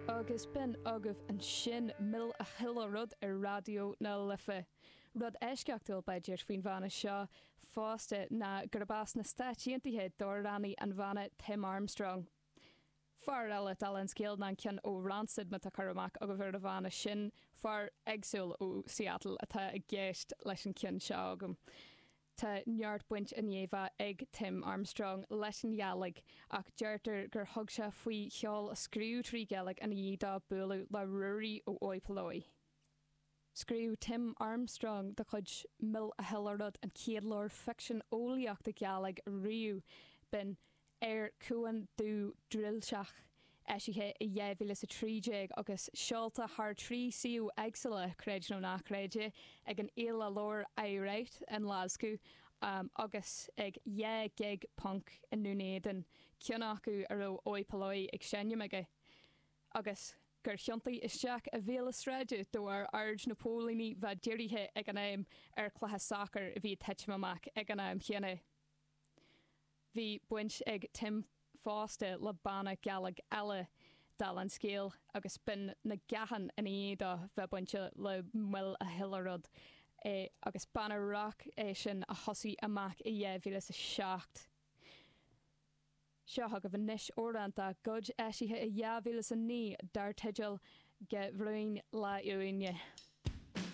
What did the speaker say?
Agus b'in agaibh ansin Mil a Chuile Rud ar Raidió na Life. Rud eisceachtúil, b'fhéidir, faoin bhanna seo fosta ná gurb as na Stáit Aontaithe d'amhránaí an bhanna Tim Armstrong. Fear eile, dála an scéil, ná an ceann ó Rancid, má tá cur amach agaibh ar an bhanna sin. Fear éagsúil ó Seattle atá i gceist leis an cheann seo agam. Tá neart baint i ndiaidh bheith ag Tim Armstrong leis an Ghàidhlig ach deirtear gur thug sé faoi cheol a scríobh trí Ghaeilge i ndiaidh dó bualadh le Ruairí ó Oi Polloi. Scríobh Tim Armstrong de chuid Mil a Chuile Rud an chéad leabhar ficsean eolaíochta Gàidhlig riamh, b'in Air Cuan Dubh Drillseach, eisithe i 2013 agus seolta thar 3 suíomh éagsúla, creid nó ná creid é, ag an Fhéile Leabhar Aye Write i nGlaschú agus ag 2 ghig punk i nDún Éideann, ceann acu a raibh Oi Polloi ag seinm aige, agus gur thiontaigh isteach i bhéal na sráide de bharr aird na póilíní bheith dírithe ag an am ar chluiche sacair a bhí ag titim amach ag an am chéanna. Bhí baint ag Tim fosta le banna Gàidhlig eile, dála an scéil, agus b'in Na Gathann i ndiaidh dó bheith bainte le Mil a Chuile Rud, agus banna rac é sin a thosaigh amach i 2007. Seo chugaibh anois amhrán dá gcuid, eisithe i 2009, dar teideal Ge Bhruinn La Uaine.